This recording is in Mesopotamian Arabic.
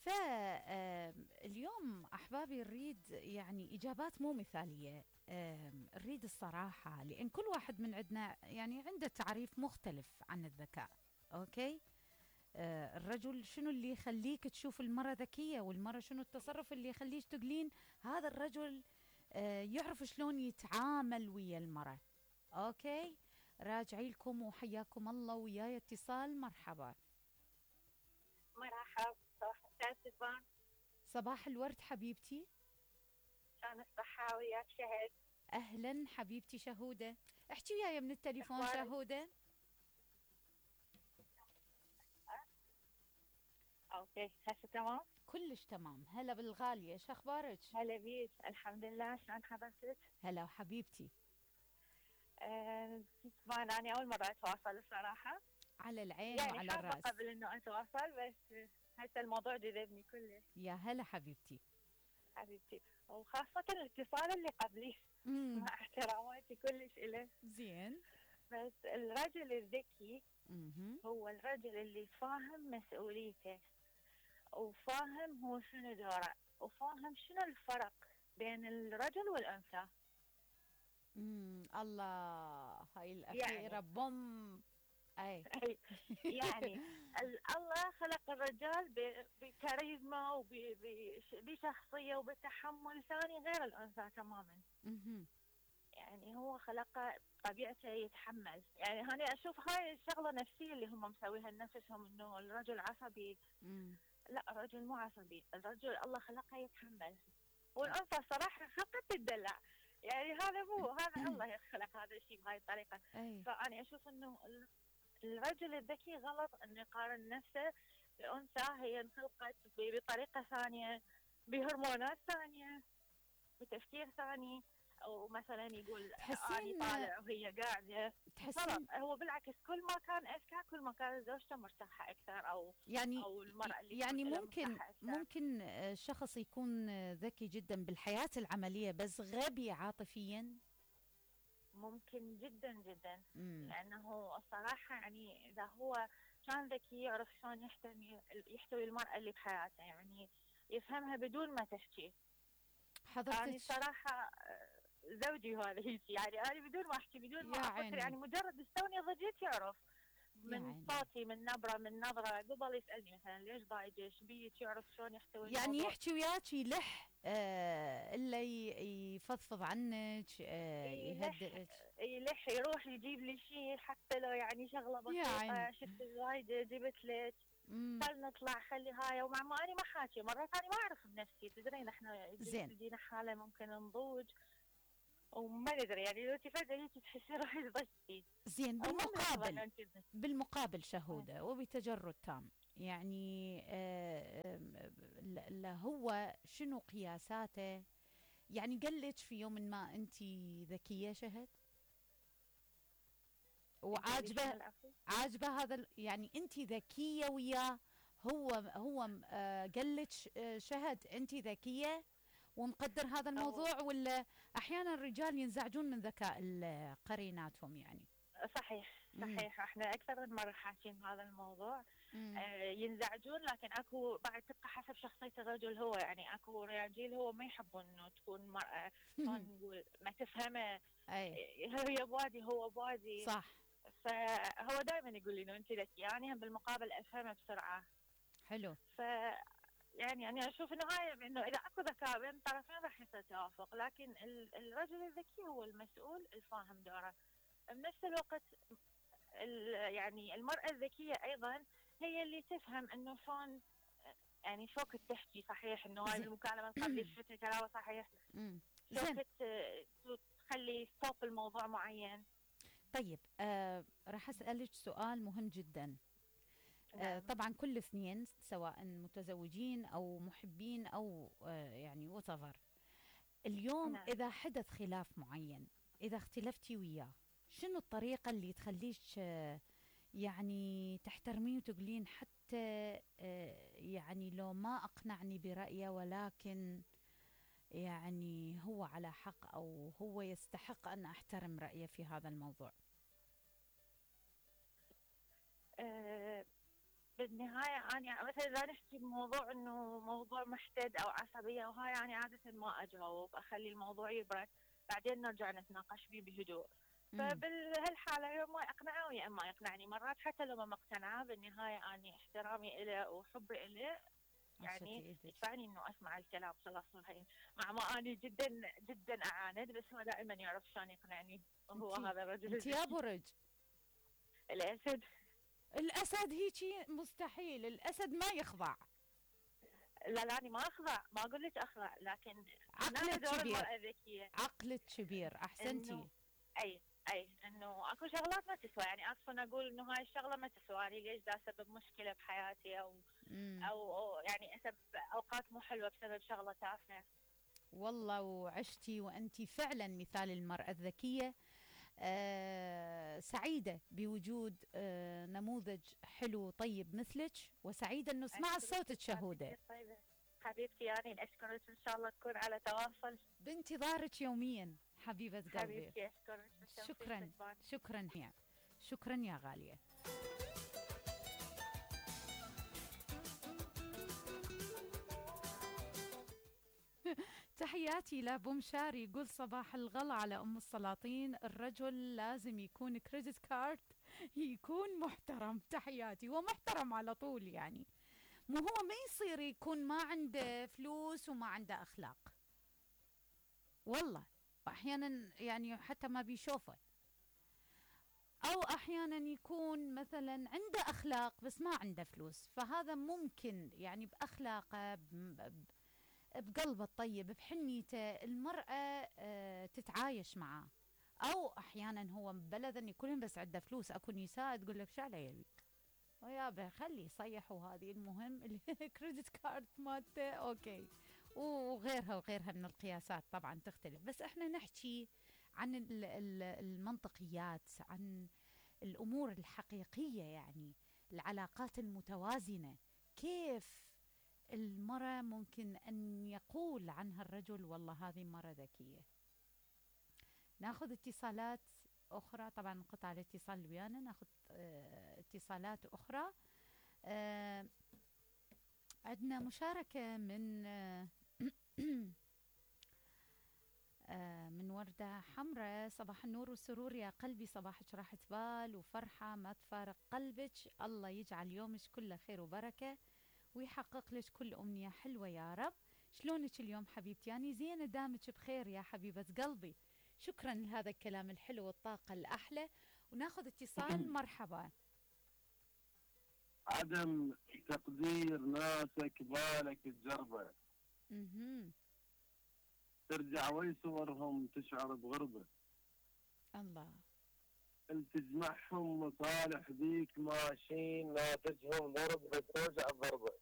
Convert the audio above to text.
فاليوم أحبابي نريد يعني إجابات مو مثالية. نريد الصراحة، لأن كل واحد من عندنا يعني عنده تعريف مختلف عن الذكاء. أوكي. الرجل شنو اللي يخليك تشوف المرأة ذكية، والمرأة شنو التصرف اللي يخليك تقولين هذا الرجل يعرف شلون يتعامل ويا المرأة. أوكي. راجعي لكم وحياكم الله. وياي اتصال. مرحبا. مرحبا، صباح الخير سلفان. صباح الورد حبيبتي. شلون الصحة؟ وياك شهد. أهلا حبيبتي شهودة. احكي وياي من التليفون شهودة. اوكي هسه تمام. كلش تمام. هلا بالغالية، شو اخبارك؟ هلا بيك، الحمد لله. شلون حضرتك؟ هلا حبيبتي. سلفان انا اول مرة اتواصل الصراحة. على العين يعني وعلى حابة الراس. قبل انه اتواصل، بس هسه الموضوع جذبني كلش. يا هلا حبيبتي. حبيبتي، وخاصة الاتصال اللي قبلي. مع احتراماتي كلش إله. زين. بس الرجل الذكي هو الرجل اللي فاهم مسؤوليته، وفاهم هو شنو دوره، وفاهم شنو الفرق بين الرجل والأنثى. الله، هاي الأخيرة يعني بوم. أي يعني الله خلق الرجال بكاريزما وبشخصية وبتحمل ثاني غير الأنثى تماما. يعني هو خلقه طبيعته يتحمل. يعني أنا أشوف هاي الشغلة نفسية اللي هم مسويها لنفسهم، إنه الرجل عصبي. لا، الرجل مو عصبي، الرجل الله خلقه يتحمل، والأنثى صراحة خلقت تدلع. يعني هذا مو هذا الله خلق هذا الشيء بهاي الطريقة. فأنا أشوف إنه الرجل الذكي غلط إنه يقارن نفسه بأنثى هي انخلقت بطريقة ثانية، بهرمونات ثانية، بتفكير ثاني. او مثلا يقول اني طالع وهي قاعده. تحسين هو بالعكس، كل ما كان اذكى كل ما كانت زوجته مرتاحه اكثر، او يعني او المراه اللي يعني ممكن شخص يكون ذكي جدا بالحياه العمليه بس غبي عاطفيا. ممكن جدا جدا. لانه الصراحه يعني اذا هو كان ذكي يعرف شلون يحتوي المراه اللي بحياته، يعني يفهمها بدون ما تحكي. حضرتك يعني صراحه زوجي هذا هيك، يعني انا بدون ما احكي بدون ما افكر، يعني مجرد استوني ضجيت يعرف من صوتي، من نبره، من نظره، قبل يسالني مثلا ليش ضايجه، ايش بيك، يعرف شلون يحتوي يعني الموضوع. يحكي وياك يلح الا يفضفض عنك، يهدئك، يلح يروح يجيب لي شيء حتى لو يعني شغله بسيطه. شفت الزايده جبت لك، خل نطلع، خلي هاي. ومع ما انا ما حاكي مرات انا ما اعرف بنفسي، تدرين احنا تجينا حاله ممكن نضوج وما ندري، يعني لو فجأة تحسي روحك ضجتي. زين. بالمقابل شهودة وبتجرد تام، يعني هو شنو قياساته؟ يعني قلت في يوم ما انت ذكية شهد عاجبه هذا، يعني انت ذكية وياه، هو قلت شهد انت ذكية ومقدر هذا الموضوع، ولا احيانا الرجال ينزعجون من ذكاء قريناتهم؟ يعني صحيح. احنا اكثر من مره حاكين هذا الموضوع. ينزعجون، لكن اكو بعد تبقى حسب شخصيه الرجل. هو يعني اكو رجال هو ما يحبون انه تكون مرأة نقول ما تفهمه. هي بوادي هو بوادي. صح. فهو دائما يقول لي انه انت ذكيه، يعني بالمقابل افهمه بسرعه. حلو. يعني أنا أشوف إنه هاي إنه إذا أكو ذكاء بين الطرفين راح يصير توافق، لكن الرجل الذكي هو المسؤول الفاهم دوره. بنفس الوقت يعني المرأة الذكية أيضا هي اللي تفهم إنه شلون، يعني شو كنت تحكي صحيح، إنه هاي المكالمة قبل شفتها كلامه صحيح، شو كنت تخلي ستوب الموضوع معين. طيب راح أسألك سؤال مهم جدا. طبعا كل اثنين سواء متزوجين أو محبين أو يعني وتظر اليوم إذا حدث خلاف معين، إذا اختلفتي وياه، شنو الطريقة اللي تخليش يعني تحترمين وتقولين حتى يعني لو ما أقنعني برأيه ولكن يعني هو على حق أو هو يستحق أن أحترم رأيه في هذا الموضوع؟ بالنهاية أنا مثلا إذا نحكي بموضوع إنه موضوع محتد أو عصبية وهاي، أنا عادة ما أجاوب، أخلي الموضوع يبرد بعدين نرجع نتناقش فيه بهدوء. امم. فبهالحالة يا ما يقنعه ويا ما يقنعني، مرات حتى لو ما مقتنعة بالنهاية أنا احترامي إله وحبي إله عشتي يعني ايدك. يدفعني إنه أسمع الكلام خلاص. هاي مع ما أنا جدا جدا أعاند، بس هو دائما يعرف شلون يقنعني، وهو انتي هذا الرجل انتي يا الذكي. برج. الأسد. الاسد هيجي مستحيل، الاسد ما يخضع. لا لا، أنا ما أخضع، ما أقول لك أخضع، لكن هنا عقلك دور كبير، المرأة الذكية. عقلك كبير، إنه احسنتي. أي إنه أكو شغلات ما تسوى، يعني أصلا أقول إنه هاي الشغلة ما تسوى، يعني ليش دا أسبب مشكلة بحياتي امم. أو يعني أسبب أوقات مو حلوة بسبب شغلة تافهة. والله وعشتي وانتي فعلا مثال المرأة الذكية. سعيدة بوجود نموذج حلو طيب مثلك، وسعيدة انه سمعت أشكرك صوتك أستاذ شهودة. كثير طيبة حبيبتي، يعني أشكرك، إن شاء الله نكون على تواصل. بانتظارك يوميا حبيبة قلبي. حبيبتي أشكرك بالتوفيق شكرا. والبان. شكرا يا شكرا يا غالية. تحياتي لابو مشاري، يقول صباح الغلا على ام السلاطين، الرجل لازم يكون كريدت كارد، يكون محترم. تحياتي، هو محترم على طول يعني، مو هو ما يصير يكون ما عنده فلوس وما عنده اخلاق. والله احيانا يعني حتى ما بيشوفه، او احيانا يكون مثلا عنده اخلاق بس ما عنده فلوس، فهذا ممكن يعني باخلاقه بقلبه الطيب بحنيته المرأة تتعايش معاه. او احيانا هو ببلد ان كلهم بس عنده فلوس، اكو نساء تقول لك شو يبي ويابا خلي يصيحوا هذه، المهم الكريدت كارد مالته اوكي. وغيرها وغيرها من القياسات طبعا تختلف، بس احنا نحكي عن المنطقيات، عن الامور الحقيقيه يعني، العلاقات المتوازنه. كيف المرأة ممكن أن يقول عنها الرجل والله هذه مرة ذكية. ناخذ اتصالات أخرى، طبعا انقطع الاتصال ويانا، ناخذ اتصالات أخرى. عندنا مشاركة من من وردة حمراء. صباح النور والسرور يا قلبي، صباحك راحة بال وفرحة ما تفارق قلبك، الله يجعل يومك كله خير وبركة ويحقق لك كل أمنية حلوة يا رب. شلونك اليوم حبيبتي؟ يعني زينة دامك بخير يا حبيبة قلبي. شكرا لهذا الكلام الحلو والطاقة الأحلى. وناخذ اتصال. مرحبا. عدم تقدير ناسك بالك تجربه، ترجع وي صورهم تشعر بغربه، الله. تجمعهم مصالح بيك ماشيين ناتجهم ضرب بتوجع الضربه.